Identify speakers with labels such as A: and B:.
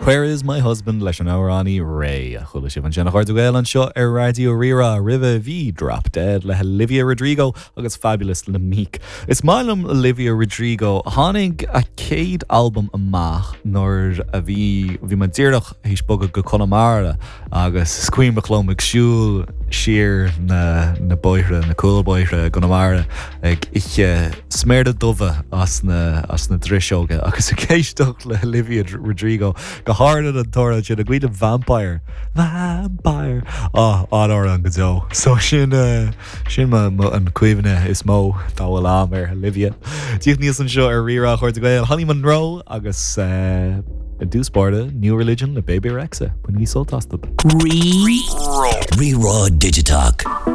A: Where is my husband leis an amhránaí Raye a chuala sibh ansin a chairde Gael anseo ar Raidió Rí-Rá. Roimhe bhí Drop Dead le Olivia Rodrigo agus Fabulous le Meek. Is maith liom Olivia Rodrigo. Tháinig a céad albam amach nuair a bhí bhí mé díreach théis bogadh go Conamara agus is cuimhneach liom ag siúl siar na na bóithre, na cúlbhóithre i gConamara ag ithe sméara dubha as na as na driseoga agus ag éisteacht le Olivia Rodrigo, go háirithe an t-amhrán sin, an cuimhin libh Vampire? Vampire! Ah, an-amhrán go deo. So sin eh, sin mo mo an cuimhne is mó dá bhfuil a'm ar Olivia. Tíocht aníos anseo ar Rí-Rá a chairde Gael, Holly Monroe agus eh, i dtús báire New Religion le Bebe Rexha. Bainigí sult astu.
B: Rí-Rá Digiteach.